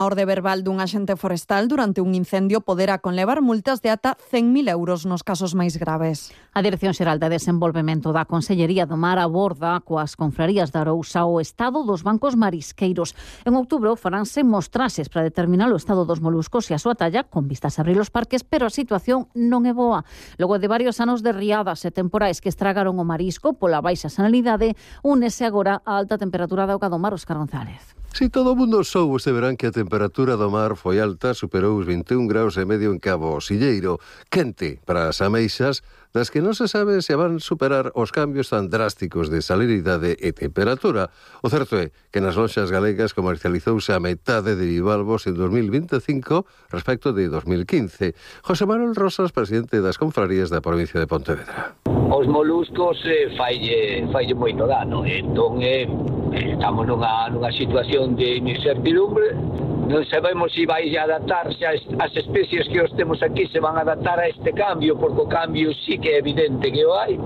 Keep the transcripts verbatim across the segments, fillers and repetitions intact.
A orde verbal dun axente forestal durante un incendio poderá conlevar multas de ata cen mil euros nos casos máis graves. A Dirección Xeral de Desenvolvemento da Consellería do Mar aborda coas confrarías de Arousa o estado dos bancos marisqueiros. En outubro faránse mostraxes para determinar o estado dos moluscos e a súa talla con vistas a abrir os parques, pero a situación non é boa. Logo de varios anos de riadas e temporais que estragaron o marisco pola baixa sanalidade, únese agora a alta temperatura da auga do mar. Óscar González. Si todo o mundo soubo este verán que a temperatura do mar foi alta, superou os vinte e un graus e medio en Cabo Silleiro. Quente para as ameixas, das que non se sabe se van superar os cambios tan drásticos de salinidade e temperatura. O certo é que nas lonxas galegas comercializouse a metade de bivalvos en dos mil vinte e cinco respecto de dos mil quince. José Manuel Rosas, presidente das confrarías da provincia de Pontevedra. Os moluscos eh, faille, faille moito dano, entón eh, estamos nunha, nunha situación de incertidumbre. Non sabemos se vai adaptarse as, as especies que os temos aquí, se van a adaptar a este cambio, porque o cambio sí que é evidente que o hai,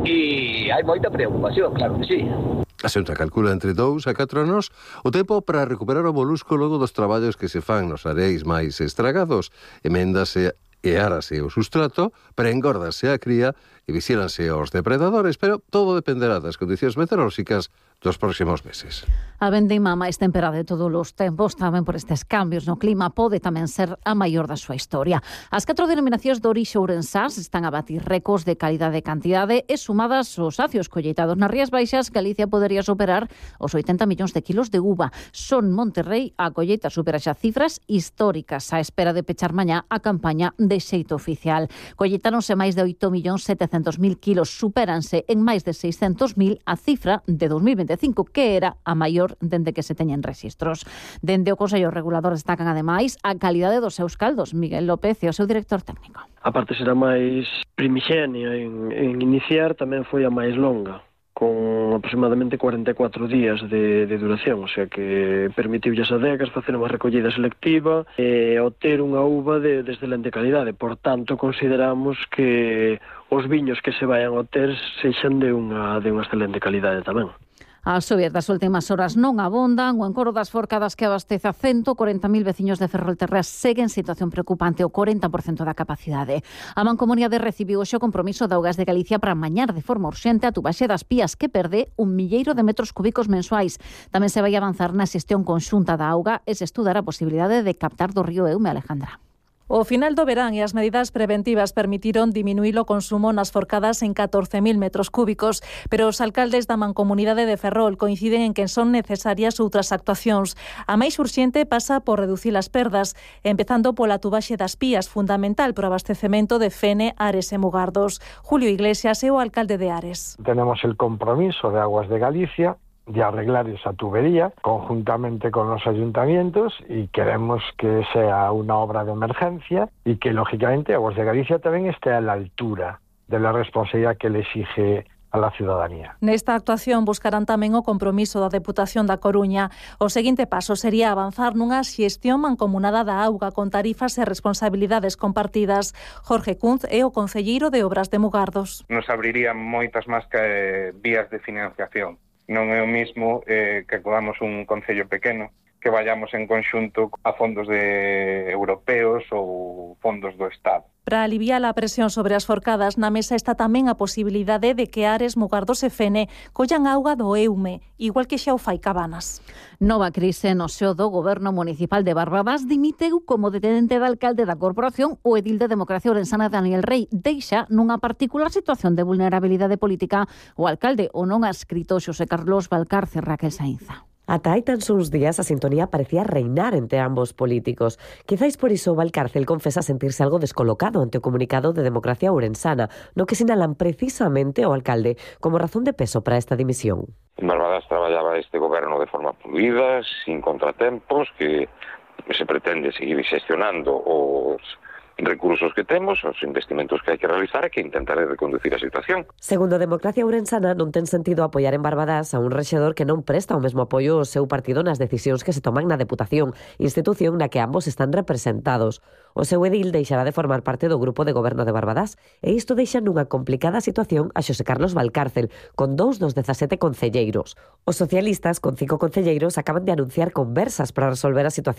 e hai moita preocupación, claro que sí. A Xunta calcula entre dous a catro anos o tempo para recuperar o molusco logo dos traballos que se fan nos areais máis estragados. Eméndase e árase o sustrato, para engordase a cría e vigílanse os depredadores, pero todo dependerá das condicións meteorolóxicas dos próximos meses. A vendeima máis temperada de todos os tempos, tamén por estes cambios no clima, pode tamén ser a maior da súa historia. As catro denominacións de orixe ourensás están a batir récords de calidade e cantidade e sumadas os acios colleitados nas Rías Baixas, Galicia podería superar os oitenta millóns de kilos de uva. Son Monterrey a colleita supera xa cifras históricas á espera de pechar mañá a campaña de xeito oficial. Colleitáronse máis de oito millóns setecentos mil kilos, supéranse en máis de seiscentos mil a cifra de dos mil vinte e cinco, que era a maior dende que se teñen rexistros. Dende o Consello Regulador destacan ademais a calidade dos seus caldos. Miguel López é o seu director técnico. A parte será máis primixenia en, en iniciar, tamén foi a máis longa, con aproximadamente cuarenta e catro días de, de duración, o sea que permitiu as adegas facer unha recollida selectiva e obter unha uva de, de excelente calidade. Por tanto, consideramos que os viños que se vayan a obter sexan de unha, de unha excelente calidade tamén. As xovias das últimas horas non abondan. O encoro das forcadas que abastece a ciento corenta mil veciños de Ferrolterras segue en situación preocupante, o corenta por cento da capacidade. A Mancomunidade recibiu hoxe o compromiso de Augas de Galicia para amañar de forma urxente a tubaxe das Pías, que perde un milleiro de metros cúbicos mensuais. Tamén se vai avanzar na xestión conxunta da auga e se estudar a posibilidade de captar do río Eume. Alejandra. O final do verán e as medidas preventivas permitiron diminuir o consumo nas forcadas en catorce mil metros cúbicos, pero os alcaldes da Mancomunidade de Ferrol coinciden en que son necesarias outras actuacións. A máis urxente pasa por reducir as perdas, empezando pola tubaxe das Pías, fundamental para o abastecemento de Fene, Ares e Mugardos. Julio Iglesias é o alcalde de Ares. Tenemos el compromiso de Aguas de Galicia de arreglar esa tubería conjuntamente con los ayuntamientos y queremos que sea una obra de emergencia y que lógicamente Aguas de Galicia también esté a la altura de la responsabilidad que le exige a la ciudadanía. Nesta actuación buscarán tamén o compromiso da Deputación da Coruña. O seguinte paso sería avanzar nunha xestión mancomunada da auga con tarifas e responsabilidades compartidas. Jorge Kunz é o concelleiro de Obras de Mugardos. Nos abriría moitas máis que vías de financiación. Non é o mismo eh, que acudamos un concello pequeno, que vayamos en conxunto a fondos de europeos ou fondos do Estado. Para aliviar a presión sobre as forcadas, na mesa está tamén a posibilidade de que Ares, Mugardos e Fene collan auga do Eume, igual que xa o fai Cabanas. Nova crise no seo do Goberno Municipal de Barbadas. Dimiteu como detente de alcalde da corporación o edil de Democracia Ourensana Daniel Rey. Deixa nunha particular situación de vulnerabilidade política o alcalde o non adscrito Xosé Carlos Valcarce Raquel Sainza. Ata hai tan só uns días a sintonía parecía reinar entre ambos políticos. Quizáis por iso Valcárcel confesa sentirse algo descolocado ante o comunicado de Democracia Ourensana, no que sinalan precisamente o alcalde como razón de peso para esta dimisión. En Barbadas traballaba este goberno de forma fluida, sin contratempos, que se pretende seguir xestionando os recursos que temos, os investimentos que hai que realizar e que intentar reconducir a situación. Segundo Democracia Ourensana, non ten sentido apoiar en Barbadas a un rexedor que non presta o mesmo apoio ao seu partido nas decisións que se toman na Deputación, institución na que ambos están representados. O seu edil deixará de formar parte do grupo de goberno de Barbadas e isto deixa nunha complicada situación a Xosé Carlos Valcárcel, con dous dos dezasete concelleiros. Os socialistas, con cinco concelleiros, acaban de anunciar conversas para resolver a situación